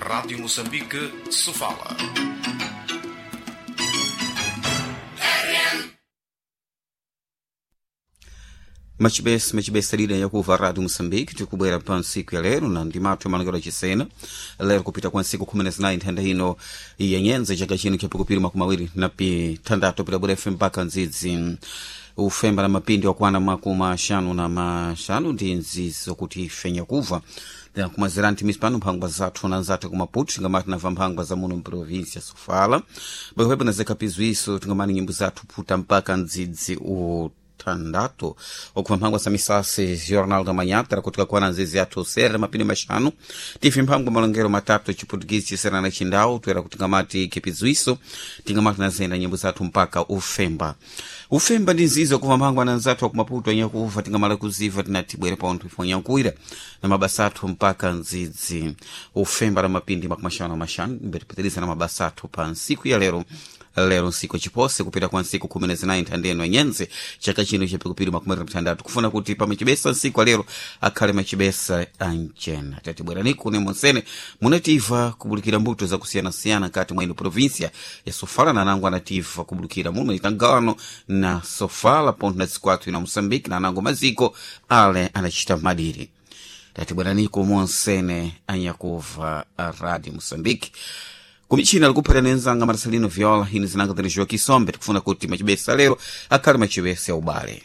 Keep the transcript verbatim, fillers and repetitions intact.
Rádio Moçambique, Sofala. Machibesi machibesi lina yakuva Rádio Moçambique, tikubwera pa ntsiku ya lero na ndimathu malangelo achisena lero kupita kwa ntsiku khumi na zinayi nthanda ino yenyenze chaka chino chapikupiri makumi awiri na pithandathu pitabwera ife mpaka ndzidzi ufemba na mapindi wakwana makumi axanu na maxanu ndi nzizi zokuti ife nyakuva kumazira nthimisi pano mphangwa zathu na nzathu kumaputu tingamati namva mphangwa za muno mprovinsia Sofala bwekwepo na zekapizwiso tingamani nyimbo zathu puta mpaka ndzidzi uthandathu okuva mphangwa za misasi Jornal da Manhã tera kuti kakwana nzizi athu sere mapindi maxanu tife mphangwa malongero matatu chiputukisi chisera na chindau toera kuti tingamati kipizwiso tingamati nazenda nyimbo zathu mpaka ufemba ufemba ndi nzizi okuva mphangwa na nzathu akumaputu anyakuva tingamala kuziva tinati bwere pa onthu ifo nyankuira na mabasa athu mpaka ndzidzi ufemba na mapindi makumi axanu na maxanu mbetipitiriza na mabasa athu pa ntsiku ya lero lero nsiku chipose kupita kwa nsiku khumi na zinayi nthandeno anyenze chaka chino chapikupiri makumi atatu mthandathu kufuna kuti pamachibesa nsiku alero akhale machibesa anchena tati bweraniku ne monsene munativa kubulikira mbuto zakusiyanasiyana nkati mwa ino provinsia ya Sofala na nango anativa kubulikira muno itangano na Sofala ponto na zikwathu ina Moçambique na nango maziko ale anachita madiri tati bweraniku monsene anyakuva Radio Moçambique kumichina likuphera nenzanga Marcelino Viola ine zinanga tiri Joaquim Sombe tikufuna kuti machibesa lero akhale machibesa ya ubale.